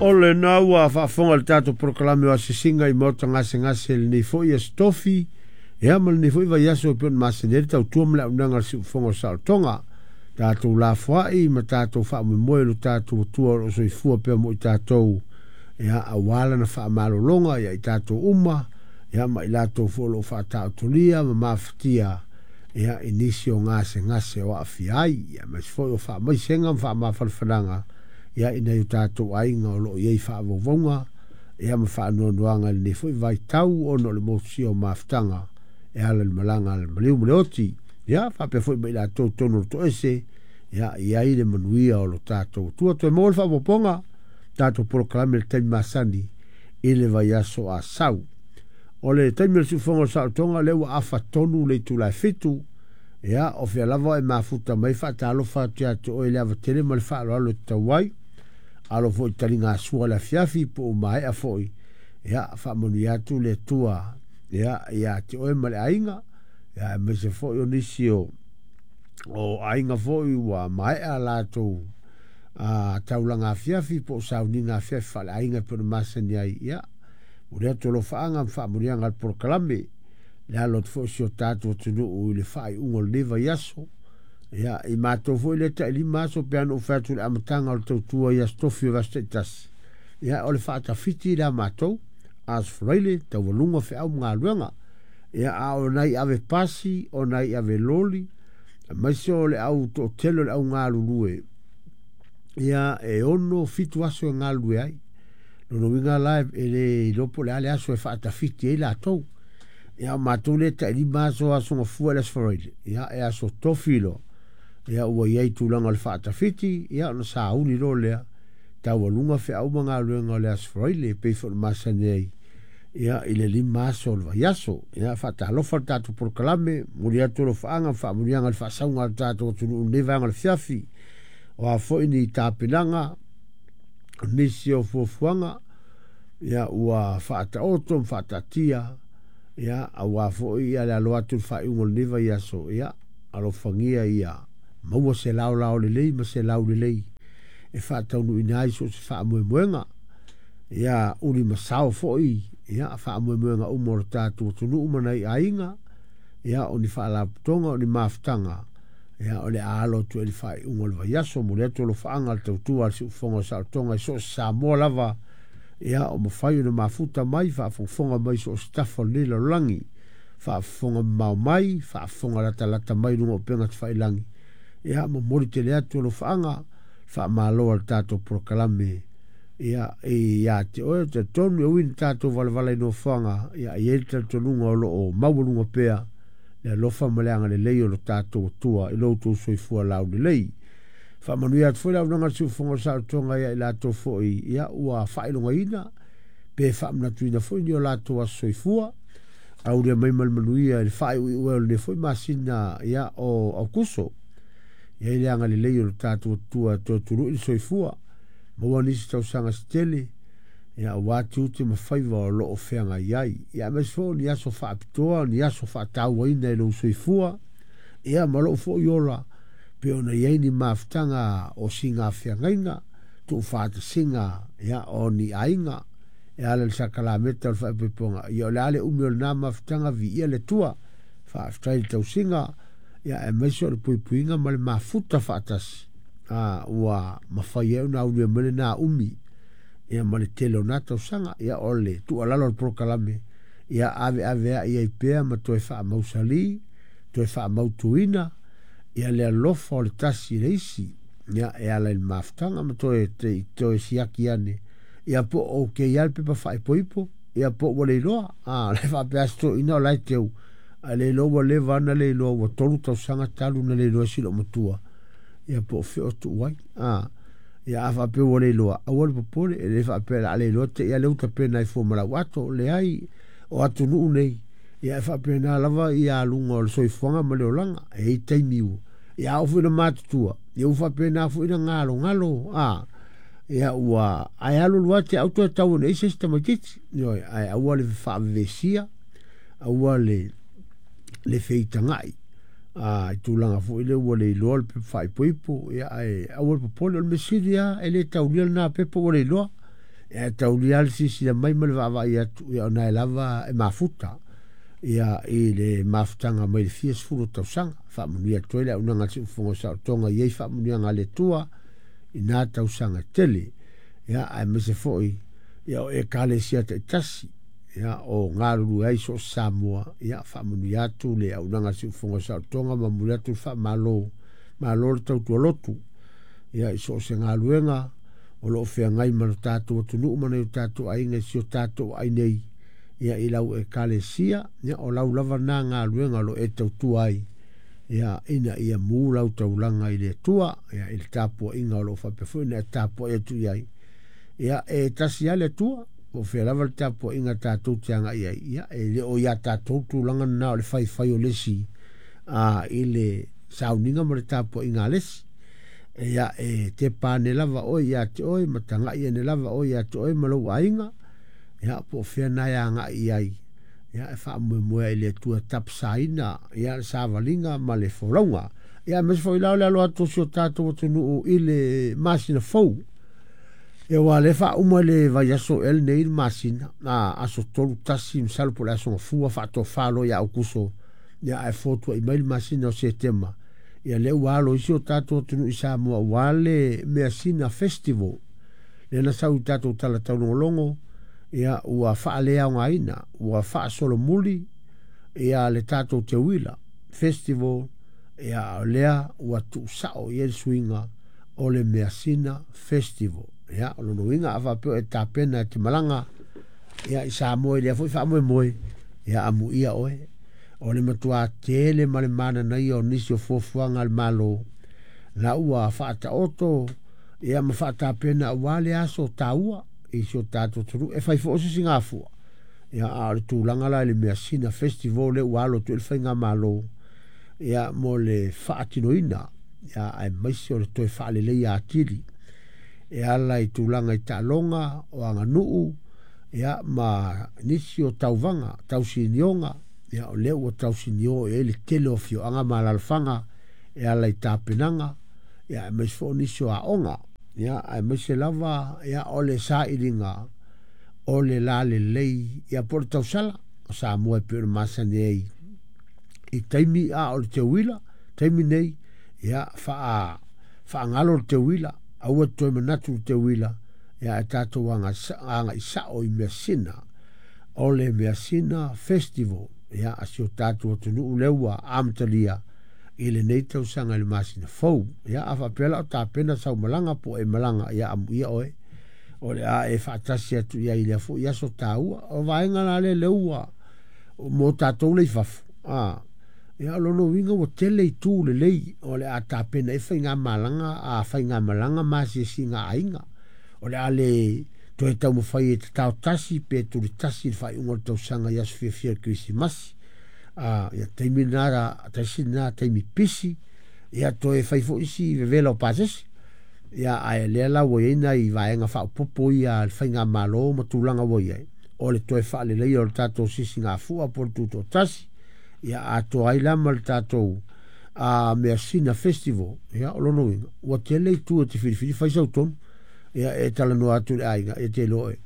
O lena ua faafofoga i le tatou polokalame o asiasiga i maota gasegase i lenei foi Aso Tofi, ia ma lenei foi vaiaso e pei ona masani ai le tautua ma le auaunaga a le Siufofoga o Saolotoga. Tatou lafoai ma tatou faamoemoe i lo tatou Atua o lo o soifua pea mo i tatou, ia, aua lana faamalologa ia i tatou uma, ia ma i latou foi o lo o faataotolia ma mafatia, ia, i nisi o gasegase o aafia ai, ia, aemaise foi o faamaisega ma faamafanafanaga, ia, i nai o tatou aiga o lo o i ai faavauvauga, ia, ma faanoanoaga i lenei foi vaitau ona o le motusia o mafutaga e ala i le malaga a le maliu ma le oti. Ia, faapea foi ma i latou totonu o le toese, ia, i ai le manuia o lo tatou Atua. Toe maua le faaopoopoga, tatou polokalame i le taimi masani i le vaiaso a sau. O le taimi o le siufofoga o le saolotoga, lea ua afa tonu le itula e 7. Ia, o fea lava e mafuta mai, faatalofa atu ia te oe i le ava tele ma le faaaloalo e tatau ai. Alo foi i taligasua le afiafi po o maea foi. Ia, faamanuia atu le Atua, ia, ia te oe ma le aiga. Ia, aemaise foi o nisi o aiga foi ua maea latou taulaga afiafi po o sauniga afiafi faaleaiga e pei ona masani ai. Ia, momoli atu alofaaga ma faamanuiaga a le polokalame. Le alo atu foi o si o tatou atunuu i le faaiuga o lenei vaiaso. Ia, i matou foi lea tai 5 aso pe ana ou fai atu i le amataga o le tautua i Aso Tofi o Vaiaso taitasi. Ia, o le faatafiti lea matou, Aso Faraile, taualuga feau ma galuega. Ia, a o nai ave pasi, o nai ave loli, aemaise o le au toatele o le au galulue, ia, e 6, 7 aso e galulue ai. Lona uiga la e le iloa po o le a le aso e faatafiti ai latou. Ia, o matou lea tai 5 aso, aso gafua i le Aso Faraile, ia, e aso Tofi loa. Ia, ua i ai tulaga o le faatafiti, ia, ona sauni loa lea, taualuga feau ma galuega o le Aso Faraile, e pei foi ona masani ai, ia, i le 5 aso o le vaiaso. Ia, faatalofa le tatou polokalame, momoli atu alofaaga ma faamanuiaga i le faasauga a le tatou atunuu i lenei vaega o le afiafi. O a foi ni tapenaga, o nisi o fuafuaga, ia, ua faataoto ma faataatia, ia, aua foi ia le alo atu i le faaiuga o lenei vaiaso, ia, alofagia ia maua se laolao lelei ma se laulelei e faataunuuina ai so o se faamoemoega. Ia, uli masao foi, ia, faamoemoega uma o le tatou atunuu ma nai aiga, ia, o ni faalapotopotoga, o ni mafutaga, ia, o le a alo atu ai le faaiuga o le vaiaso. Momoli atu alofaaga a le tautua a le Siufofoga o Saolotoga i so o se Samoa lava, ia, o mafai ona mafuta mai, faafogafoga mai so o se tafa o lenei lalolagi, faafofoga mamao mai, faafofoga latalata mai luga o upega tafailagi. Ia, momoli tele atu alofaaga, faamalo a le tatou polokalame, ia, ia te oe, talitonu e ui ni tatou valavala i nofoaga, ia, i ai le talitonuga o lo o maualuga pea le alofa ma le agalelei o lo tatou Atua i lo outou soifua laulelei. Faamanuia atu foi le auaunaga a le Siufofoga o Saolotoga ia i latou foi, ia, ua faailogaina pe faamanatuina foi ni o latou aso soifua, aulia mai ma le manuia i le faaiuiu ai o lenei foi masina, ia, o Aukuso. Ia i le agalelei o lo tatou Atua e toe tului le soifua, maua nisi tausaga se tele, ia, aua tiute ma faiva o lo o feagai ai. Ia, aemaise foi o ni aso faapitoa, ni aso faatauaina i lou soifua, ia, ma lou foi ola, pe ona i ai ni mafutaga o siga feagaiga, tuufaatasiga, ia, o ni aiga, e ala i le sakalameta o le faaipoipoga. Ia, o le a le umi o lena mafutaga, viia le Atua, faafetai i le tausiga, ia, aemaise o le puipuiga ma le mafuta faatasi, ua mafai ai ona aulia mai lena umi, ia, ma le tele o na tausaga. Ia, o le tuualalo o le polokalame, ia, aveave ai ai pea ma toe faamausali, toe faamautuina, ia, le alofa o le tasi i le isi, ia, e ala i le mafutaga ma toe siaki ane, ia, po o ke ia le pepa faaipoipo, ia, po ua le iloa, le faapea ase toeaina o la e teu, a le iloa ua leva ana le iloa, ua 3 tausaga talu na le iloa si loo matua, ia, po o feo tuu ai, ia, a faapea ua le iloa, aua le popole, e le faapea la le iloa te ia le uta pena i fua ma lau ato, leai, o atunuu nei, ia, e faapena lava ia aluga o le soifuaga ma le olaga, e i taimi ua, ia, au foi na matutua, ia, ua faapena foi na galogalo, ia, ua, ae alu alu ate au toe tau ona isi tamaitiiti, ioe, ae aua le faavevesia, aua le feitagai, i tulaga foi lea ua le iloa le pepa faaipoipo, ia, ae aua le popole, o le mea sili lava, e le taulia lena pepa ua le iloa. Ia, e taulia lava le silasila mai ma le vaavaai atu, ia o na e lava e mafuta ia i le mafutaga mai le fia sefulu o tausaga. Faamanuia atu ai le auaunaga a le Siufofoga o Saolotoga i ai faamanuiaga a le Atua i na tausaga e tele. Ia, aemaise foi ia o Ekalesia taitasi ia o galulue ai so o se Samoa, ia faamanuia atu le auaunaga a le Siufofoga o Saolotoga ma momoli atu le faamalo, malo le tautua lotu ia i so o se galuega o lo o feagai ma lo tatou atunuu ma nai o tatou aiga i si o tatou aai nei ia i lau Ekalesia, ia o lau lava na galuega o lo o e tautua ai ia ina ia mu lau taulaga i le Atua ia i le tapuaiga o lo o faapea foi ona e tapuai atu i ai. Ia e tasi lava le Atua, po o fea lava le tapuaiga tatou te agai ai, ia e le o ia tatou tulaga lena o le faifai o le isi i le sauniga ma le tapuaiga a le isi. Ia e tepa ane lava oe ia te oe ma tagai ane lava oe ia te oe ma lou aiga, ia po o fea na e agai i ai, ia e faamoemoe ai i le Atua e tapasaina ia le savaliga ma le folauga. Ia aemaise foi la o le alo atu o si o tatou atunuu i le masina fou. Ia aua o lea e faauma i le vaiaso ea lenei le masina, aso 31 masalo po o le aso Gafua faatofa loa ia Aokuso, ia ae fotuai mai le masina o Setema. Ia lea ua alo ai si o tatou atunuu i Samoa aua le Measina Festival. Lea na sau i tatou tala taulogologo, ia ua faaleaogaina, ua faasolomuli ia le tatou teuila festival, ia o lea ua tuusao i ai le suiga o le Measina Festival. Ia, o lona uiga a faapea o e tapena e te malaga ia i Samoa i lea foi faamoemoe, ia amuia oe. O le matua tele ma le mananaia o nisi o fuafuaga a le Malo, la ua faataoto ia ma faatapena aua le aso taua i si o tatou atunuu. E fai foi o se sigafua, ia a o le tulaga la i le Measina Festival lea ua alo atu ai le faigamalo ia mo le faatinoina, ia aemaise o le toe faaleleia atili e ala i tulaga i taaloga o aganuu ia ma nisi o tauvaga tausinioga, ia o lea ua tausinio i ai le tele o afioaga ma alaalafaga e ala i tapenaga, ia aemaise foi o nisi o aoga, ia aemaise lava ia o le sailiga o le lalelei ia po o le tausala o Samoa e pei ona masani ai i taimi a o le teuila taimi nei, ia faagalo le teuila, aua toe manatu le teuila, ia ae tatou agai sao i measina o le Measina Festival ia a si o tatou atunuu lea ua amatalia i lenei tausaga i le masina fou. Ia a faapea la o tapena sau malaga po o e malaga, ia amuia oe o le a e faatasi atu i ai i lea foi aso taua. O vaega la lea lea ua mo tatou le i fafo, ia o lona uiga ua tele itu lelei o le a tapena ai faigamalaga a faigamalaga ma asiasiga a aiga. O le a le toe taumafai e tatao tasi pe tulitasi i le faaiuga o le tausaga i aso fiafia o le Kerisimasi. Ia taimi lena, tasi lena taimi pisi, ia toe fai foi isi vevela o pasese. Ia ae lea la ua i ai nai vaega faaopoopo ia a le faigamalo ma tulaga ua i ai, o le toe faaleleia o le tatou sisigafua po o le tutoatasi, ia atoa ai la ma le tatou Measina Festival. Ia o lona uiga, ua tele itu e te filifili fai sau tonu. Ia e talanoa atu i le aiga, ia te iloa oe,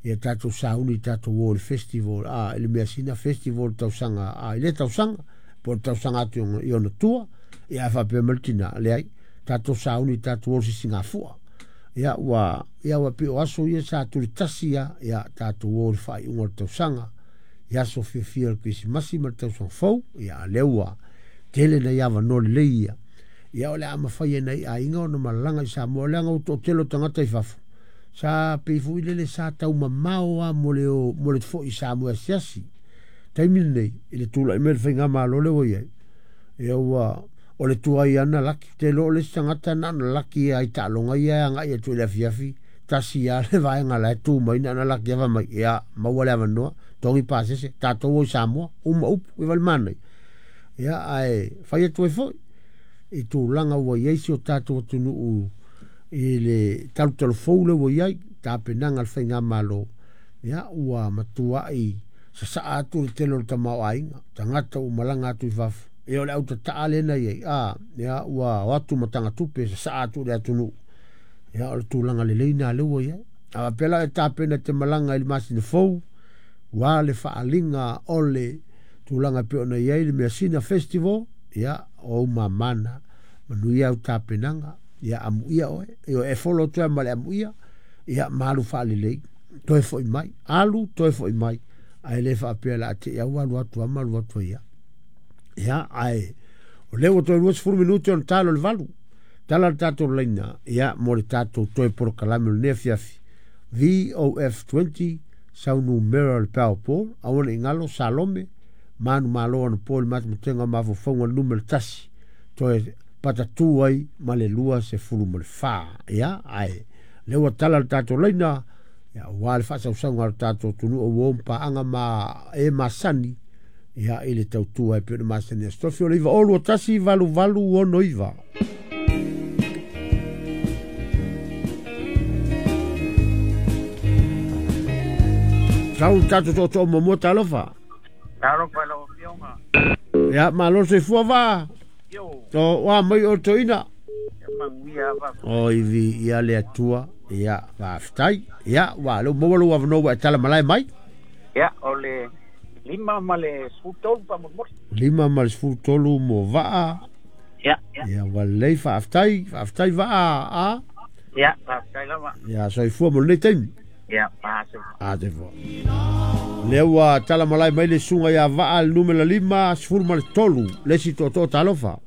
ia tatou sauni tatou o i le festival, i le Measina Festival i le tausaga, i lea tausaga, po o le tausaga atu i ona tua. Ia ae faapea mai le tina, leai, tatou sauni tatou o i le sisigafua. Ia ua, ia ua pei o aso ia sa tulitasi lava, ia tatou o i le faaiuga o le tausaga, i aso fiafia o le Kerisimasi ma le tausaga fou. Ia a lea ua tele nai avanoa lelei ia, ia o le a mafai e nai aiga ona malaga i Samoa, leaga ua toatele o tagata i fafo, sa pei foi lele sa taumamao lava mo le o, mo le foi i Samoa e asiasi. Taimi lenei, i le tulai mai o le faigamalo lea ua i ai, ia ua o le tuai lava na laki. Ou te iloa o le isi tagata na ona laki lava i taaloga ia e agai atu i le afiafi, tasi lava le vaega la e tu mai, na ona laki lava fai mai, ia, maua le avanoa, togi pasese, tatou o i Samoa, uma upu, e vale manaia. Ia, ae fai atu ai foi i tulaga ua i ai si o tatou atunuu i le talutalufou lea ua i ai, tapenaga a le faigamalo, ia ua matuai sasaa atu le tele o le tamaoaiga, tagata ua malaga atu i fafo, ia o le autataa lea na i ai, ia ua o atu ma tagatupe sasaa atu i le atunuu. Ia o le tulaga lelei na lea ua i ai. A pela e tapena te malanga i le masina fou, ua le faaliga o le tulaga e pei ona i ai le measina festival, ia, o ou mamana, manuia au tapenaga, ia amuia oe, ioe, e folo atu ai ma le amuia, ia ma alu faalelei, toe foi mai, alu toe foi mai, ae le faapea o le a te i lava ua alu atu lava ma alu atu ai lava. Ia, ae o lea ua toe 20 minute ona talo le 8. Tala le tatou laina, ia, mo le tatou toe polokalame o lenei afiafi. VOF20, sau numera o le Powerball, aua ne i galo, Salome, manumalo anapo i le matematega o mafaufauga numera 1, toe patatu ai ma le 24. Ia, ae lea ua tala le tatou laina, ia, aua le faasausauga o le tatou atunuu ua o ma paaga ma e masani, ia, i le tautua e pei ona masani. Aso Tofi o le 9 2 1 8 8 6 9. Sau le tatou tootoo muamua, talofa. Talofa i lau Afioga. Ia, malo le soifua va. Io. To, ua mai o toina. Ia manuia va. O ivi ia le Atua. Ia, faafetai. Ia, ua leu maua lou avanoa ua e tala malae mai. Ia, o le 5 ma le 13 faamolemole. 5 ma le 13 mo vaa. Ia, ia. Ia, ua lelei, faafetai. Faafetai vaa, a. Ia, faafetai lava. Ia, soifua mo lenei taimi. Ia, fasoifua. A, soifua. Lea ua tala malae mai le susuga ia Vaa le numera 5, 13, le isi tootoo talofa.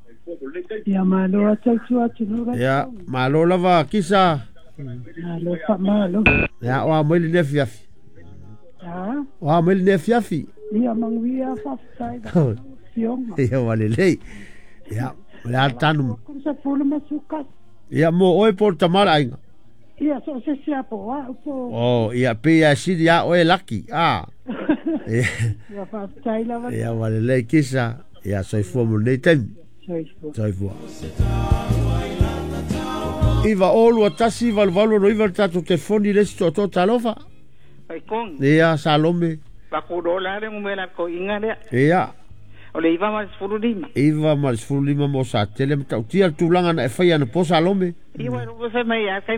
Ia, malo tautua atunuu la Ia, tau. malo lava kisa. Malo faamalo. Ia, o a mai lenei afiafi. A? O a mai lenei afiafi. Ia, manuia, faafetai lau Afioga. Ia, ua lelei. Ia, o le a tanu. Ko sa pulu ma suka. Ia, mo oe po o le tama o le aiga. Ia, so se sia po a po. O, ia, pe ia sili a oe laki. A. Ia, faafetai lava. Ia, ua lelei kisa. Ia, soifua mo lenei taimi. Soifua. Soifua. 9 0 2 1 8 8 9 le tatou telefoni le isi tootoo talofa. Pai kong. Ia, Salome. Pakulo la le ngumela ko inga lea. Ia. O le 9 ma le 15. 9 ma le 15 mo sa tele matautia le tulaga na e fai ana po Salome. Iwa ro se mai a kai